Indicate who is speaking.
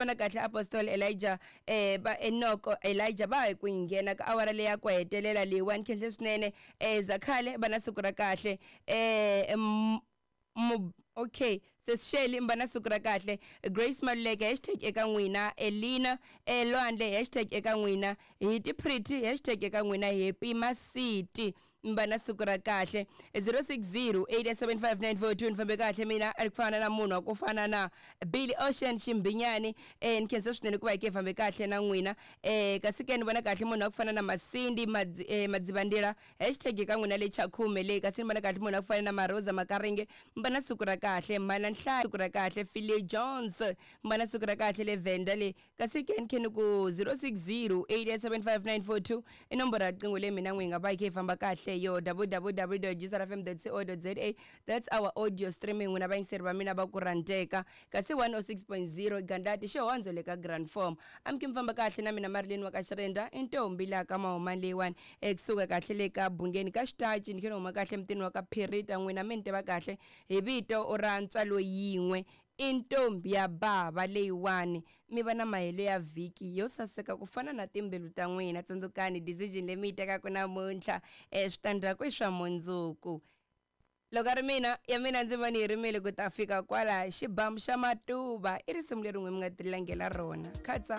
Speaker 1: Vona kahle Apostle Elijah ba Enoko Elijah va hi ku nghena ka awara leyi ya ku hetelela leyiwani khenhle swinene Zakhale va na siku ra kahle okay Sesi Shelley mba na siku ra kahle Grace Maluleke hashtag eka n'wina Elina Lwandle hashtag eka n'wina Hiti Pretty hashtag eka n'wina Happy Masiti mi va na siku ra kahle 06087594 ni fambe kahle mina a ri ku fana na munhu wa ku fana na Billy Ocean Ximbinyani ni khensa swinene ku va hi ke fambe kahle na n'wina kasi ke ni vona kahle munhu wa ku fana na Masindi Madzivandila hashtag ka n'wina le Chakhume le kasi ni vona kahle munhu wa ku fana na Maroza Makaringe mi va na siku ra kahle Mhana Nhlayo siku ra kahle Philly Jones mi va na siku ra kahle le Venda le kasi ke ni khe ni ku 0608875942 i nomboro ya riqingho leyi mina n'wi hi nga va hi khe hi famba kahle yo www.gsrfm.co.za that's our audio streaming n'wina vayingiseri va mina va ku rhandzeka kasi 106.0 gandlati xihondzo le ka grand form amukhe mi famba kahle na mina Marilyn wa ka Xirenda i ntombi laha ka Mahumani leyiwani ekusuka kahle le ka Bungeni ka Xitachi ni khe ni huma kahle mutini wa ka Phirita n'wina mi ni tiva kahle hi vito ra ntswalo yin'we I ntombi ya bava leyiwani. Mi va na mahelo ya vhiki yo saseka ku fana na timbilu ta n'wina. Tsundzukani, decision leyi mi yi tekaka namuntlha, switandzhaku i swa mundzuku. Loko a ri mina, ya mina ndzima ni yi rimile ku ta fika kwala. Xibamu xa matuva i risimu leri n'we mi nga tilangela rona. Khatsa.